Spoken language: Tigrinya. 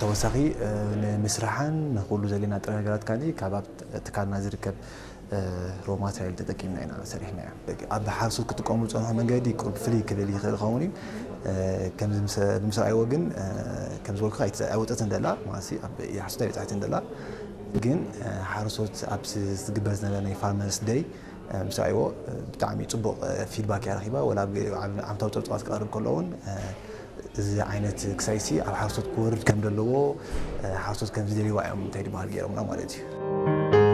ተወሳኺ ንምስራሕን ንኩሉ ዘለና ጥረ ነገራት ካዚ ካብ ኣብ ትካልና ዝርከብ ሮ ማትሪያል ተጠቂምና ኢና ሰሪሕናዮ። ኣብ ሓረስቶት ክጥቀሙ ዝፀንሑ መንገዲ ቁሩብ ፍልይ ክብል ይኽእል ይኸውን እዩ። ከምዚ ምስ- ብምስራይዎ ግን ከም ዝበልኩ ኣይወፀትን ደላ ማለት ኣብ ሓረስቶት ኣይበፃሕትን ደላ። ግን ሓረስቶት ኣብ ዝግበር ዝነበረ ናይ ፋርመርስ ደይ ምስራይዎ ብጣዕሚ ፅቡቕ ፊድባክ እያ ረኪባ። ወላ ዓመታዊ ፀብፃባት ክቐርብ ከሎ እውን እዚ ዓይነት ክሳይሲ ኣብ ሓረስቶት ክወርድ ከም ዘለዎ ሓረስቶት ከም ዝደልይዋ እዮም እንታይ ድበሃል ገይሮምና ማለት እዩ።